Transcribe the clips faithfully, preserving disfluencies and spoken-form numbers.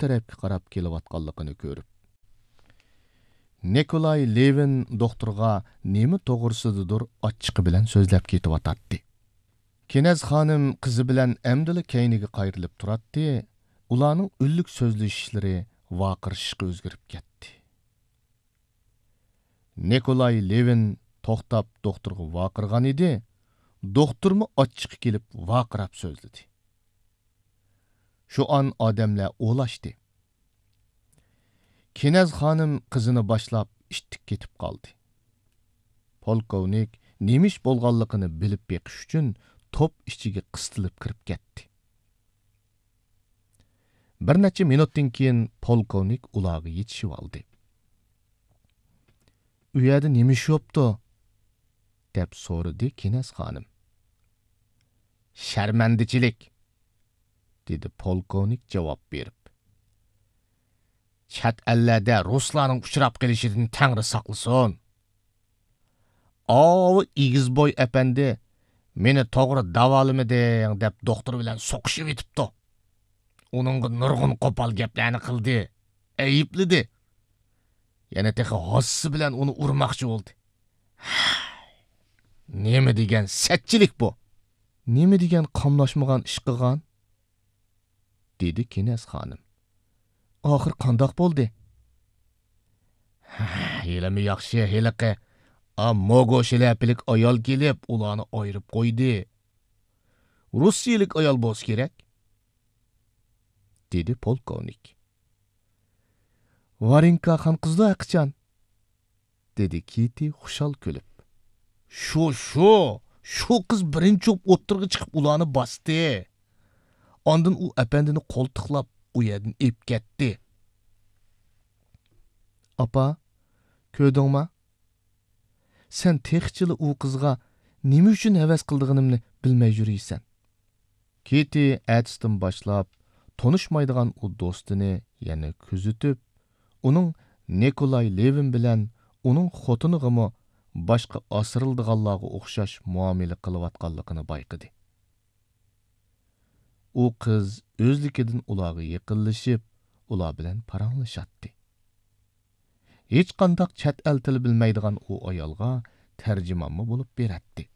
تەرەپكە قاراپ كېلىۋاتقانلىقىنى كۆرۈپ، نىكولاي لېۋىن دوختۇرغا نېمە توغرىسىدىدۇر ئاچچىقى بىلەن سۆزلەپ كېتىۋاتاتتى. كېنەز خانىم قىزى بىلەن ئەمدىلا كەينىگە قايرىلىپ تۇراتتى، ئۇلارنىڭ ئۈنلۈك سۆزلىشىشلىرى ۋارقىرىشىشقا ئۆزگىرىپ كەتتى. نىكولاي لېۋىن توختاپ دوختۇرغا ۋارقىرىغان ئىدى، دوختۇرمۇ ئاچچىقى كېلىپ ۋارقىراپ سۆزلىدى. شۇ ئان ئادەملەر ئولاشتى. كېنەز خانىم قىزىنى باشلاپ ئىتتىك كېتىپ قالدى. پولكوۋنىك نېمە ئىش بولغانلىقىنى بىلىپ بېقىش ئۈچۈن توپ ئىچىگە قىستىلىپ كىرىپ كەتتى. بىر نەچچە مىنۇتتىن كېيىن پولكوۋنىك ئۇلارغا يېتىشىۋالدى. «ئۇ يەردە نېمە ئىش بوپتۇ؟» دەپ سورىدى كېنەز خانىم. «شەرمەندىچىلىك!» دېدى پولكوۋنىك جاۋاب بېرىپ. «چەت ئەللەردە رۇسلارنىڭ ئۇچراپ قېلىشىدىن تەڭرى ساقلىسۇن! ئاۋۇ ئېگىزبوي ئەپەندى مېنى توغرا داۋالىمىدىڭ دەپ دوختۇر بىلەن سوقۇشۇۋېتىپتۇ. ئۇنىڭغا نۇرغۇن قوپال گەپلەرنى قىلدى، ئەيىبلىدى. يەنە تېخى ھاسىسى بىلەن ئۇنى ئۇرماقچى بولدى. نېمە دېگەن سەتچىلىك بۇ!» «نېمە دېگەن قاملاشمىغان ئىش قىلغان؟» دېدى كېنەز خانىم. «ئاخىر قانداق بولدى؟» «ھېلىمۇ ياخشى، ھېلىقى ئا موگو شىلەپىلىك ئايال كېلىپ ئۇلارنى ئايرىپ قويدى. رۇسىيىلىك ئايال بولسا كېرەك»، دېدى پولكوۋنىك. «ۋارېنكا خانقىزدۇ ھەقىچان؟» دېدى كىتى خۇشال كۈلۈپ. «شۇ، شۇ، شۇ قىز بىرىنچى بولۇپ ئوتتۇرىغا چىقىپ ئۇلارنى باستى. ئاندىن ئۇ ئەپەندىنى قولتۇقلاپ ئۇ يەردىن ئېلىپ كەتتى.» «ئاپا، كۆردۈڭما؟ سەن تېخىچىلا ئۇ قىزغا نېمە ئۈچۈن ھەۋەس قىلىدىغىنىمنى بىلمەي يۈرىسەن.» كىتى ئەتىسىدىن باشلاپ تونۇشمايدىغان ئۇ دوستىنى يەنە كۆزىتىپ، ئۇنىڭ نىكولاي لېۋىن بىلەن ئۇنىڭ خوتۇنىغىمۇ باشقا ئاسرىلىدىغانلارغا ئوخشاش مۇئامىلە قىلىۋاتقانلىقىنى بايقىدى. ئۇ قىز ئۆزلۈكىدىن ئۇلارغا يېقىنلىشىپ، ئۇلار بىلەن پاراڭلىشاتتى. ھېچقانداق چەت ئەل تىلى بىلمەيدىغان ئۇ ئايالغا تەرجىمانمۇ بولۇپ بېرەتتى.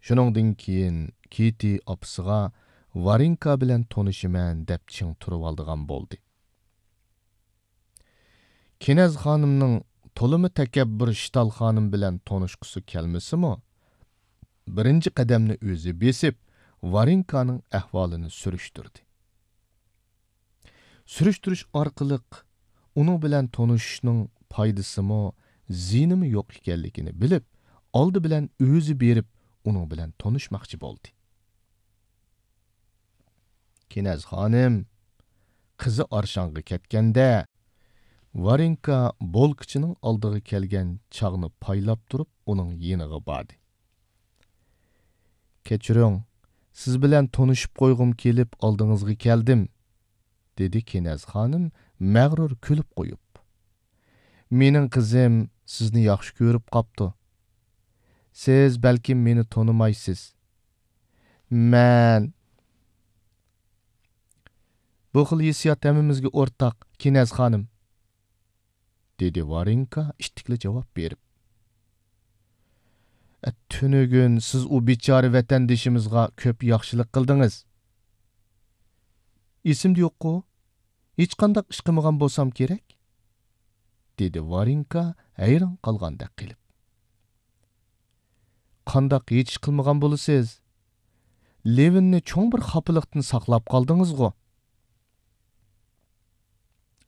شۇنىڭدىن كېيىن كىتى ئاپىسىغا ۋارېنكا بىلەن تونۇشىمەن دەپ چىڭ تۇرۇۋالىدىغان بولدى. كېنەز خانىمنىڭ تولىمۇ تەكەببۇر شتال خانىم بىلەن تونۇشقۇسى كەلمىسىمۇ، بىرىنچى قەدەمنى ئۆزى بېسىپ، ۋارېنكانىڭ ئەھۋالىنى سۈرۈشتۈردى. سۈرۈشتۈرۈش ئارقىلىق ئۇنىڭ بىلەن تونۇشۇشنىڭ پايدىسىمۇ، زىيىنىمۇ يوق ئىكەنلىكىنى بىلىپ، ئالدى بىلەن ئۆزى بېرىپ، ئۇنىڭ بىلەن تونۇشماقچى بولدى. كېنەز خانىم قىزى ئارشاڭغا كەتكەندە، ۋارېنكا بولكىچىنىڭ ئالدىغا كەلگەن چاغنى پايلاپ تۇرۇپ، ئۇنىڭ يېنىغا باردى. «كەچۈرۈڭ، سىز بىلەن تونۇشۇپ قويغۇم كېلىپ ئالدىڭىزغا كەلدىم»، دېدى كېنەز خانىم مەغرۇر كۈلۈپ قويۇپ. «مېنىڭ قىزىم سىزنى ياخشى كۆرۈپ قاپتۇ. سىز بەلكىم مېنى تونۇمايسىز. مەن...» «بۇ خىل ھېسسىيات ھەممىمىزگە ئورتاق، كېنەز خانىم»، دېدى ۋارېنكا ئىتتىكلا جاۋاب بېرىپ. «ئە، تۈنۈگۈن سىز ئۇ بىچارە ۋەتەندىشىمىزغا كۆپ ياخشىلىق قىلدىڭىز.» «ئېسىمدە يوققۇ؟ ھېچقانداق ئىش قىلمىغان بولسام كېرەك»، دېدى ۋارېنكا ھەيران قالغاندەك قىلىپ. «قانداق ھېچ ئىش قىلمىغان بولىسىز؟ لېۋىننى چوڭ بىر خاپىلىقتىن ساقلاپ قالدىڭىزغۇ؟»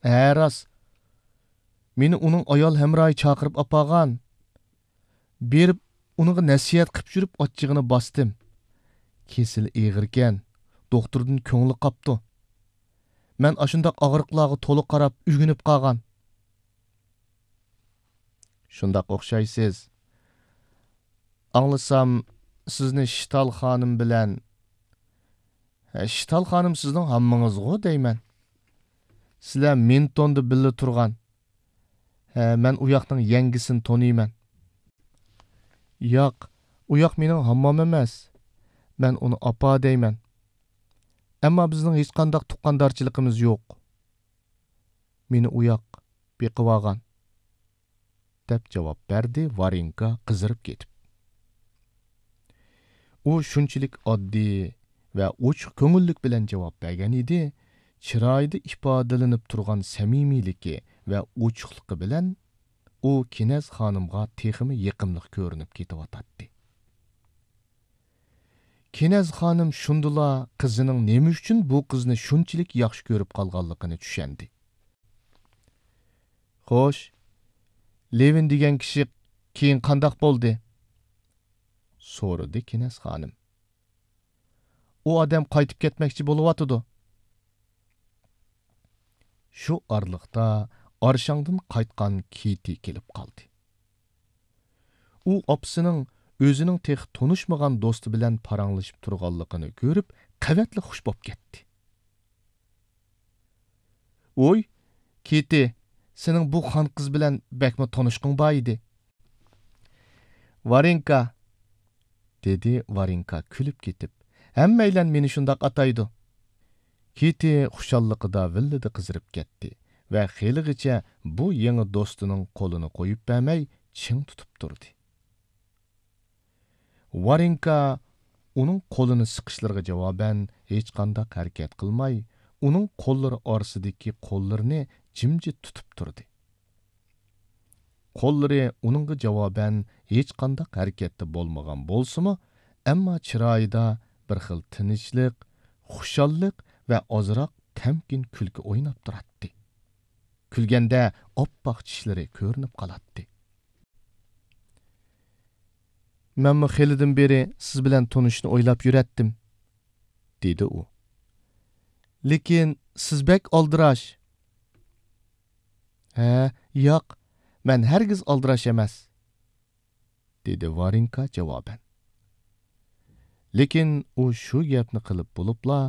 «ھە، راست. مېنى ئۇنىڭ ئايال ھەمراھى چاقىرىپ ئاپارغان. بېرىپ، ئۇنىڭغا نەسىھەت قىپ يۈرۈپ ئاچچىقىنى باستىم. كېسىلى ئېغىركەن، دوختۇردىن كۆڭلى قاپتۇ. مەن ئاشۇنداق ئاغرىقلارغا تولا قاراپ ئۆگىنىپ قالغان.» «شۇنداق ئوخشايسىز. ئاڭلىسام، سىزنى شتال خانىم بىلەن...» «ھە، شتال خانىم سىزنىڭ ھاممىڭىزغۇ دەيمەن. سىلەر مىنتوندا بىللە تۇرغان. ھە، مەن ئۇ ياقنىڭ يەڭگىسىنى تونۇيمەن.» «ياق، ئۇ ياق مېنىڭ ھاممام ئەمەس. مەن ئۇنى ئاپا دەيمەن.» ئەمما بىزنىڭ ھېچقانداق تۇغقاندارچىلىقىمىز يوق. مېنى ئۇياق بېقىۋالغان، دەپ جاۋاب بەردى ۋارېنكا قىزىرىپ كېتىپ. ئۇ شۇنچىلىك ئاددىي ۋە ئوچۇق كۆڭۈللۈك بىلەن جاۋاب بەرگەن ئىدى، چىرايىدا ئىپادىلىنىپ تۇرغان سەمىمىيلىكى ۋە ئوچۇقلۇقى بىلەن ئۇ كېنەز خانىمغا تېخىمۇ يېقىملىق كۆرۈنۈپ كېتىۋاتاتتى. كېنەز خانىم شۇندىلا قىزىنىڭ نېمە ئۈچۈن بۇ قىزنى شۇنچىلىك ياخشى كۆرۈپ قالغانلىقىنى چۈشەندى. «خوش، لېۋىن دېگەن كىشى كېيىن قانداق بولدى؟» سورىدى كېنەز خانىم. «ئۇ ئادەم قايتىپ كەتمەكچى بولۇۋاتىدۇ.» شۇ ئارىلىقتا ئارشاڭدىن قايتقان كىتى كېلىپ قالدى. ئۇ ئاپىسىنىڭ ئۆزىنىڭ تېخى تونۇشمىغان دوستى بىلەن پاراڭلىشىپ تۇرغانلىقىنى كۆرۈپ، قەۋەتلا خۇش بولۇپ كەتتى. «ۋوي، كىتى، سېنىڭ بۇ خان قىز بىلەن بەكمۇ تونۇشقۇڭ بار ئىدى.» «ۋارېنكا!» دېدى ۋارېنكا كۈلۈپ كېتىپ. «ھەممەيلەن مېنى شۇنداق ئاتايدۇ.» كىتى خۇشاللىقىدا ۋىللىدە قىزىرىپ كەتتى ۋە خېلىغىچە بۇ يېڭى دوستىنىڭ قولىنى قويۇپ بەرمەي چىڭ تۇتۇپ تۇردى. ۋارېنكا ئۇنىڭ قولىنى سىقىشلىرىغا جاۋابەن ھېچقانداق ھەرىكەت قىلماي، ئۇنىڭ قوللىرى ئارىسىدىكى قوللىرىنى جىمجىت تۇتۇپ تۇردى. قوللىرى ئۇنىڭغا جاۋابەن ھېچقانداق ھەرىكەتتە بولمىغان بولسىمۇ، ئەمما چىرايىدا بىر خىل تىنچلىق، خۇشاللىق ۋە ئازراق تەمكىن كۈلكە ئويناپ تۇراتتى. كۈلگەندە ئاپئاق چىشلىرى كۆرۈنۈپ قالاتتى. «مەنمۇ خېلىدىن بېرى سىز بىلەن تونۇشۇشنى ئويلاپ يۈرەتتىم،» دېدى ئۇ. «لېكىن سىز بەك ئالدىراش.» «ھە، ياق، مەن ھەرگىز ئالدىراش ئەمەس،» دېدى ۋارېنكا جاۋابەن. لېكىن ئۇ شۇ گەپنى قىلىپ بولۇپلا،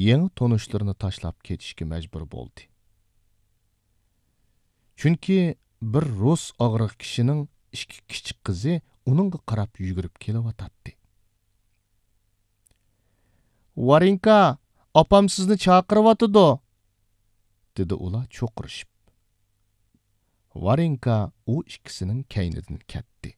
يېڭى تونۇشلىرىنى تاشلاپ كېتىشكە مەجبۇر بولدى. چۈنكى بىر رۇس ئاغرىق كىشىنىڭ ئىككى كىچىك قىزى ئۇنىڭغا قاراپ يۈگۈرۈپ كېلىۋاتاتتى. «ۋارېنكا، ئاپام سىزنى چاقىرىۋاتىدۇ!» دېدى ئۇلار چوقۇرۇشۇپ. ۋارېنكا ئۇ ئىككىسىنىڭ كەينىدىن كەتتى.